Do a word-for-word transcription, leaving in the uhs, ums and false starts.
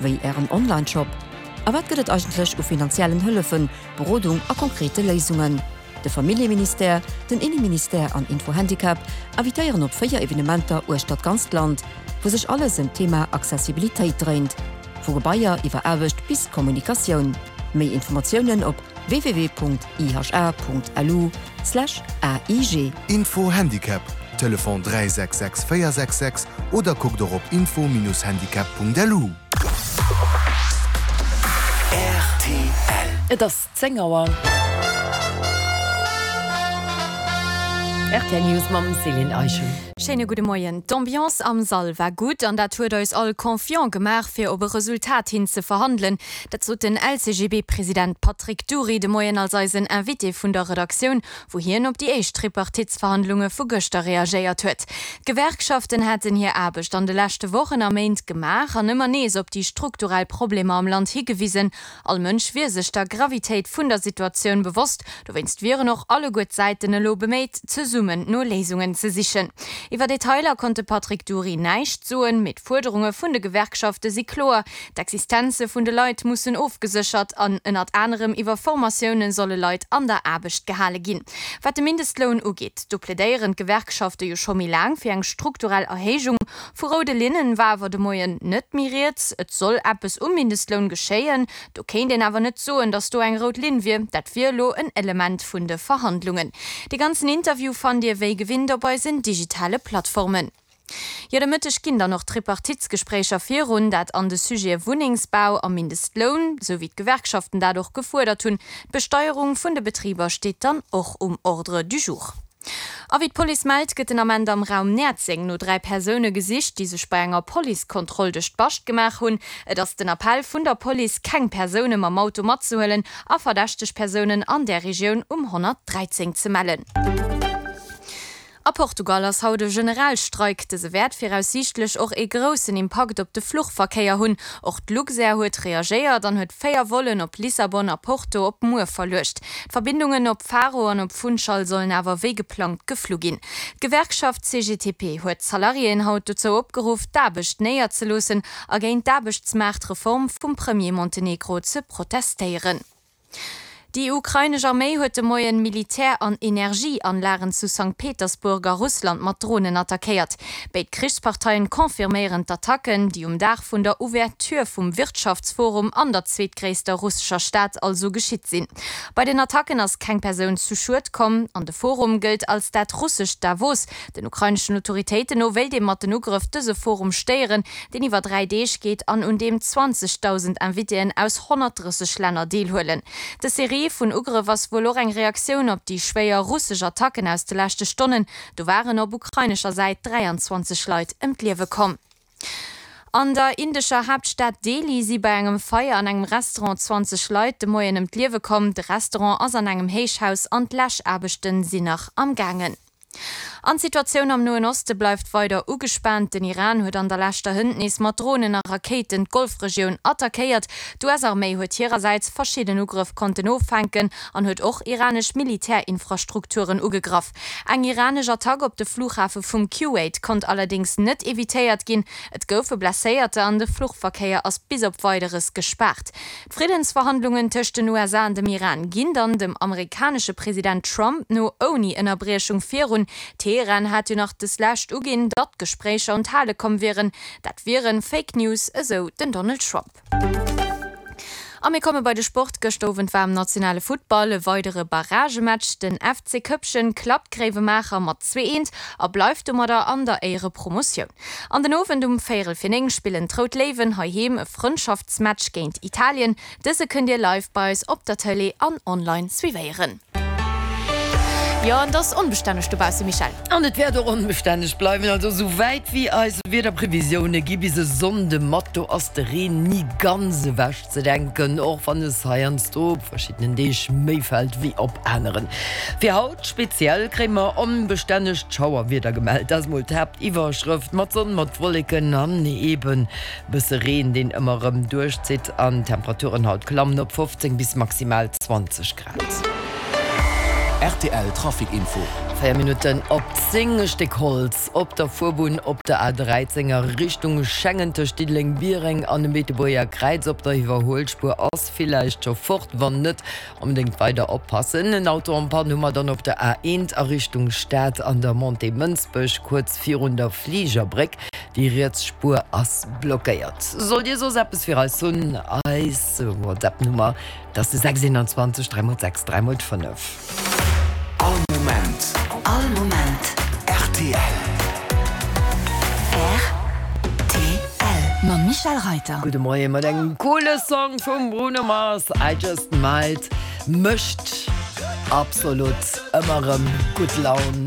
wéi Ären Onlineshop? A wat gëtt et eigentlech u finanziellen Hëllefen, Berodung a konkrete Léisungen? De Familljeministère, den Inneministère an Info-Handicap invitéieren op véier Evenementer uechter d'ganzt Land, wou sech alles ëm d'Thema Accessibilitéit dréint, vu Gebaier iwwer Aarbecht bis Kommunikatioun. Méi Informatiounen op www.iha.lu slash aig. Info Handicap, Telefon dräi sechs sechs véier sechs sechs oder kuckt och op info-handicap.lu. Rtl. Et ass zéng Auer. Rtl News mam Céline Eischen. Schéine gudde Moien. D'Ambiance am Sall war gutt an dat huet eis all confiant gemaach, fir op e Resultat hin ze verhandelen. Dat sot den L C G B-President Patrick Dury de Moien als eisen Invité vun der Redaktioun, wou hien op déi éischt Tripartitsverhandlunge vu gëschter reagéiert huet. D'Gewerkschaften hätten hir Aarbecht an de leschte Wochen a Méint gemaach an ëmmer nees op déi strukturell Problemer am Land higewisen. All Mënsch wier sech der Gravitéit vun der Situatioun bewosst, dowéinst wieren och alleguer d'Säiten elo beméit, zesummen no Léisungen ze sichen. Iwwer Detailer konnt de Patrick Dury näischt soen, mee d'Fuerderunge vun de Gewerkschafte si kloer, D'Existenze vun de Leit mussen ofgeséchert an ënnert anerem iwwer Formatioune solle Leit an der Aarbecht gehale ginn. Wat de Mindestloun ugeet, do plädéieren d'Gewerkschafte jo scho méi laang fir eng strukturell Erhéijung. Vu roude Linnen war awer de Moien net méi rieds. Et soll eppes um Mindestloun geschéien, do kéint een awer net soen, datt do eng rout Linn wier. Dat wier elo en Element vun de Verhandlungen. De ganzen Interview fannt Dir wéi gewinnt op eisen digitale Plattformen. Jo, de Mëtteg ginn dann och d'Tripartitsgespréicher virun, dat an de Sujete Wunnengsbau a Mindestloun, sou wéi d'Gewerkschaften dat och gefuerdert hunn. D'Besteierung vun de Betriber steet dann och um Ordre du jour. A wéi d'Police mellt, gëtt den Ament am Raum Näerzeng no dräi Persoune gesicht, déi sech bei enger Policekontroll duerch d'Bascht gemaach hunn. Et ass den Appell vun der Police, keng Persoune mam Auto matzehuelen a verdächteg Persounen an där Regioun um honnertdräizéng ze mellen. A Portugal ass haut e Generalstreik. Dëse wäert viraussiichtlech och ee groussen Impakt op de Fluchverkéier hunn. Och d'Luxair huet reagéiert an huet véier Vollen op Lissabon a Porto op muer verluecht. D'Verbindungen op Faro an op Funchal sollen awer wéi geplangt geflu ginn. D'Gewerkschaft C G T P huet d'Salariéen haut dozou opgeruff, d'Aarbecht néierzeloossen a géint d'Aarbechtsmaartreform vum Premier Montenegro ze protestéieren. Déi ukrainesch Arméi huet de Moien Militär an Energieanlagen zu Sankt Petersburg a Russland mat Dronen attackéiert. Béid Krichsparteien confirméieren d'Attacken, déi um Dag vun der Ouverture vum Wirtschaftsforum an der zweetgréisster russescher Stad also geschitt sinn. Bei den Attacken ass keng Persoun zu Schued komm an de Forum gëllt als dat russescht Davos. Den ukraineschen Autoritéiten no wéilt ee mat den Ugrëff dëse Forum stéieren, deen iwwer dräi Deeg geet an un deem zwanzegdausend Invitéen aus honnertdrësseg Länner deelhuelen. Dës Serie vun Ugrëff ass wuel och eng Reaktioun op déi schwéier russesch Attacken aus de leschte Stonnen. Do waren op ukrainescher Säit dräianzwanzeg Leit ëm d'Liewe komm. An der indescher Haaptstad Delhi si bei engem Feier an engem Restaurant zwanzeg Leit de Moien ëm d'Liewe komm. De Restaurant ass an engem Héichhaus an d'Läschaarbechte sinn nach am gaangen. An d'Situatioun am Noen Oste bleift weider ugespaant. Den Iran huet an der leschter Hënt nees mat Dronen a Rakéiten d'Golfregioun attackéiert. D'U S-Arméi huet hirersäits verschidden Ugrëff konnten offänken an huet och iranesch Militärinfrastrukturen ugegraff. Eng iranesch Attack op de Flughafe vum Kuwait konnt allerdéngs net evitéiert ginn. Et goufe Blesséierter an de Fluchverkéier ass bis op Weideres gespaart. D'Friddensverhandlungen tëscht den U S A an dem Iran ginn dann dem amerikanesche President Trump no ouni Ënnerbriechung virun. Teheran hat jo nach deslescht uginn, datt Gespréicher un d'Hale komm wieren. Dat wiere Fake News, esou den Donald Trump. A mir komme bei de Sport. Gëschter Owend war am nationale Futtball e weidere Barragematch. Den F C Köppchen klappt Gréiwemaacher mat zwee eent a bleift domadder an der Éierepromotioun. An den Owend um véierel fir néng spillen d'Rout Léiwen heiheem e Frëndschaftsmatch géint Italien. Dëse kënnt Dir live bei eis op der Tëlee an online suivéieren. Jo, an et ass onbestänneg dobausse, Michèle. An et wäert och onbestänneg bleiwen, also esou wäit wéi eis Wiederprevisioune gi bis e Sonnde mat, do ass de Reen ni ganz ewech ze denken, och wann es heiansdo op verschiddenen Deeg méi fält wéi op aneren. Fir haut speziell kréie mer onbestännegt Schauerwieder gemellt, dat ass mol d'Haaptiwwerschrëft, mat Sonn, mat Wolleken an eben bësse Reen, deen ëmmer erëm duerchzitt. An d'Temperaturen haut klammen op fofzéng bis maximal zwanzeg Grad. Rtl Trafic Info. Véier Minutten op zéng, E Stéck Holz op der Fuerbunn op der A dräizéng a Richtung Schengen tëscht Diddeleng-Biereng an dem Beetebuerger Kräiz op der Iwwerhuelspuer ass villäicht scho fort. Wann net, onbedéngt weider oppassen. En Auto en panne hu mer dann op der A eent a Richtung Stad an der Montée Mënsbech kuerz virun der Fligerbréck. Déi riets Spuer ass blockéiert. Sollt Dir soss eppes fir eis hunn, eis WhatsApp-Nummer, dat ass de sechs eenanzwanzeg dräi mol sechs dräi mol fënnef. All Moment. All Moment. Rtl. Rtl. Mam Michel Reiter. Gudde Moie mat engem coole Song vum Bruno Mars, I Just Might, mécht absolut ëmmer erëm gutt Laun.